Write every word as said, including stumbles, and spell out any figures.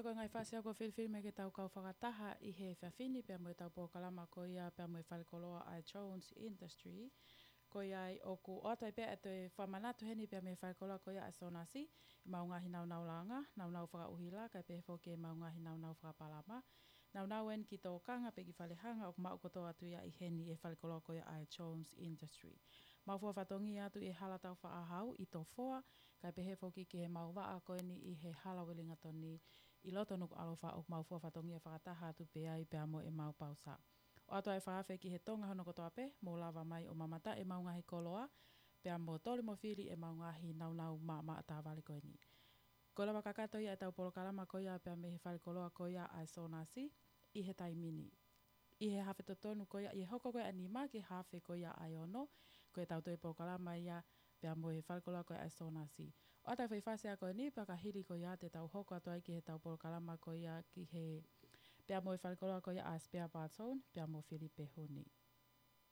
Ko e ngaahi fasi ʻoku filifili mai ke tau kau fakataha ʻi he efiafi ni pea mo ʻetau polokalama ko ia pea mo e falekoloa ʻa e Jones Industry. Ko ia ai ʻoku ʻoatu ai pē ʻa e fakamanatu heni pea mo e falekoloa ko ia ʻa e Sonasi, ʻemau ngaahi naunau langa, naunau fakaʻuhila, kae pehē foki ʻemau ngaahi naunau fakapalama. Naunau eni ki tōkanga pe ki falehanga ʻoku maʻu kotoa atu ia ʻi heni ʻi he falekoloa ko ia ʻa e Jones Industry. Mau fua fatongia atu ʻi he hala Taufaʻāhau ʻi Tofoa, kae pehē foki ki heʻemau vaʻa ko eni ʻi he hala Uelingatoni ʻi loto Nukuʻalofa ʻoku mau fua fatongia fakataha atu pē ai pea mo ʻemau pausa. ʻOatu ʻa e fakaafe ki he Tonga hono kotoa pē, mou lava mai ʻo mamata ʻemau ngaahi koloa, pea mo toli mo fili ʻemau ngaahi naunau maʻamaʻa tāvale ko eni. Ko e lava kakato ia ʻetau polokalama ko ia pea mei he falekoloa ko ia ʻa e Sonasi ʻi he taimi ni. ʻI he hafe totonu ko ia, ʻi he hoko ko ia ʻa e nima ki he hafe ko ia ʻa e ono, ko ʻetau toe polokalama ia pea mo e falekoloa ko ia ʻa e Sonasi. ʻOatu ʻa e foʻi fasi ko eni pea ka hili ko ia te tau hoko atu ai ki heʻetau polokalama ko ia ki he pea mo e falekoloa ko ia ʻa e Spare Parts Zone, pea mo Filipe Huni.